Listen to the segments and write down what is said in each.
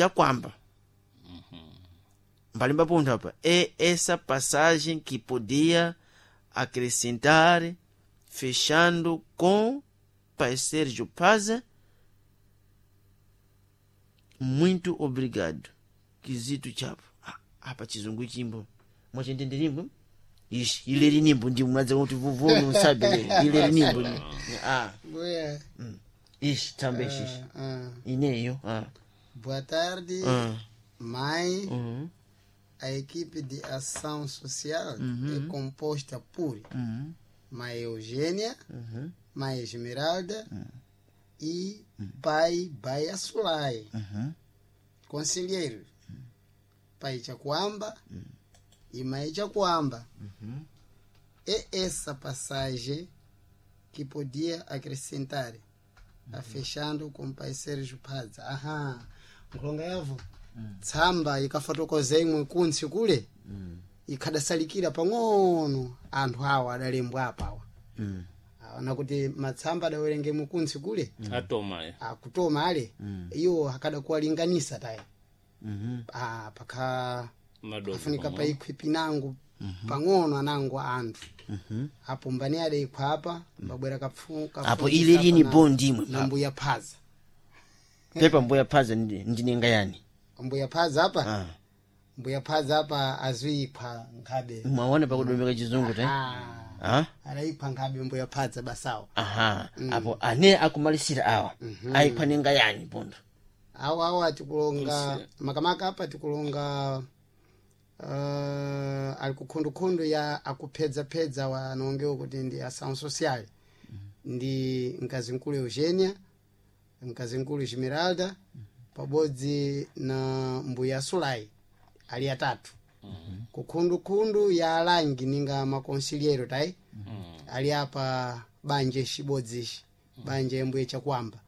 Chakwamba mbalimba ponto apa é essa passagem que podia acrescentar, fechando com Pai Sérgio Paza. Muito obrigado, Kizito Chapo. Ah, apa chizungu chimbo mwachendenderimbo ishi ileri nimbo ndi mwadza kuti vuvoni usabe ileri nimbo ah Boa. ishi tsambe ishi Ah, ineyo ah boa tarde, ah mãe. uhum. A equipe de ação social é composta por Uhum. mãe Eugênia, Uhum. mãe Esmeralda e pai Baia Sulai. Uhum. Conselheiro, pai Chacuamba e mãe Chacuamba. É essa passagem que podia acrescentar, a fechando com pai Sérgio Paza. Aha, nkulonga yavo tsamba ikafotokoza imwe kuntsi kule ikhadasalikira pang'ono anthu awa adalembwa apawa Mm. aona kuti matsamba adawerenge mukuntsi kule atoma ya akutoma ale iwo akadakuwalinganisa taya Uhum. ah, pakha madogo afunika pang'ono. paikhwe pinango pang'ono anango anthu apo mbani adaikhwa apa mbabwera kapfu apo ileri ni bondi imwe na mbuya phaza pepa mbuya phaza ndinenga yani mbuya phaza apa ah mbuya phaza apa aziyikhwa nkhabe mwaona pakudomeka chizungu te ah, ah adayikhwa nkhabe mbuya phaza basawo aha apo ane akumalisira awa ayikhwa nenga yani pondo awo awo atikulonga makamaka apa tikulonga ali kukhundukhundu ya akuphedzapedza wanongewo kuti ndi ação social ndi mkazinkulu Eugênia, mkazinkulu Esmeralda pabodzi na mbuya Sulai ali atatu kukhundukhundu ya alangi ninga makonsiliero tayi ali apa banja ixibodzi ixi banja mbuye Chakwamba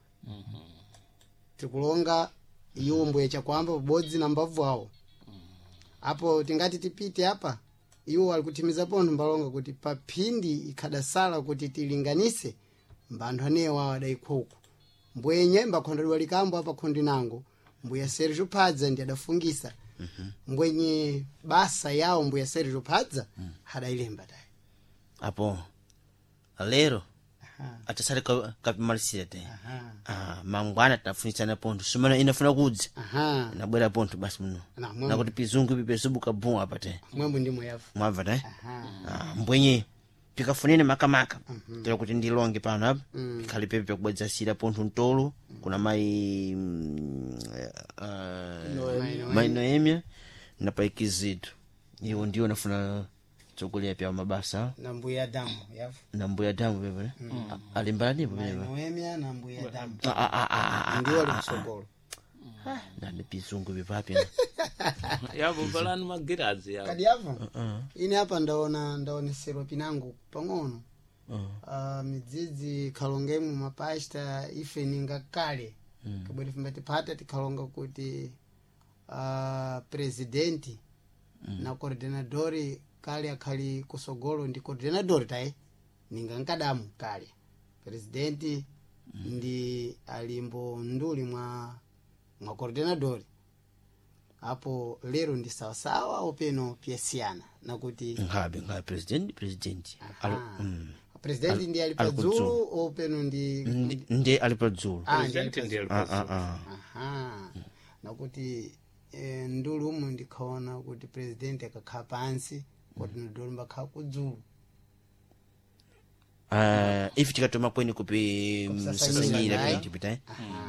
tikulonga iwo mbuye Chakwamba pabodzi na mbavu awo apo tingati tipite apa iwo ali kuthimiza pontho mbalonga kuti paphindi ikhadasala kuti tilinganise mbanthu anewo awo adayikhwa uku mbwenye mbakhondedwa likambo apa khondi nango mbuya Sergio Padza ndi adafungisa mbwenye basa yawo mbuya Sergio Padza adayilemba tayi apo lero Aha, atasale kapimalisira te aha, ah mangwana tafunisana pontho sumana inafuna kudza aha. nabwera pontho basi muno Na, mwemwe- nakuti pizungu ipi pesubuka bum apa te mwemwe ndimwe yavu mwabva te aha ah, mbwenye pikafunene makamaka tera kuti ndilonge pano apa pikhale pepe pakubwedzasira pontho mtolo kuna mayi mayi Noemia na pai Kizito iwo ndiwo nafuna tsokulera pya mabasa na mbuya Adamu yavu na mbuya damu pepe ne alimbala ndipo Mayi pepe Noemia na mbuya Adamu Ah, ah, ah, ah, ah, ndiwo ali kutsogolo ah, nani pizungu pepapi yavo valani magirazi yavo kadi yavu ine apa ndaona ndaoneserwa pinango pang'ono midzidzi khalongemu mapasta ife ninga kale kabwera fimba tiphata tikhalonga kuti presidenti na coordinadori kale akhali kusogolo ndi coordinadori tayi ninga nkadamu kale presidenti ndi alimbo nduli mwa mwa coordinadori apo lero ndi sawasawa openo piyasiyana nakuti nkhabe nkhabe president president Aha. Presidenti ndi ali ali padzulu openo ndi ndi ali padzulu Ah, ndi ali Presidenti ndiye Ah, ali ah, ah. Aha. Nakuti ndulu umu ndikhaona kuti presidenti akakhala pansi coordinador mbakhala kudzulu Ah, ife tikatoma kweni kupi Kupsasanyira, msasanyira nayi. pene tipita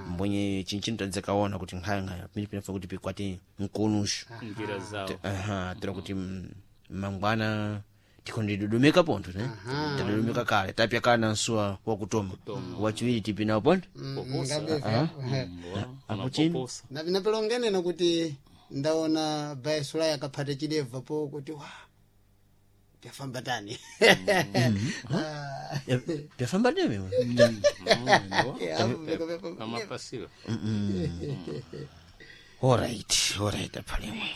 mbonye chinchino tadzakaona kuti nkhayankhaya pene pinafa kuti pikwati mkonushu njira zawo aha tira kuti mangwana tikhondidodomeka pontho ne tadodomeka kale tapya kale na nsuwa wakutoma wachiwiri tipinawo pontho Apo chini? unapoposa napilongenena kuti ndaona baesulai akaphata chidebva po kuti wa pyafamba tani pyafamba ndeme amapasiro alright alright aphalemwe.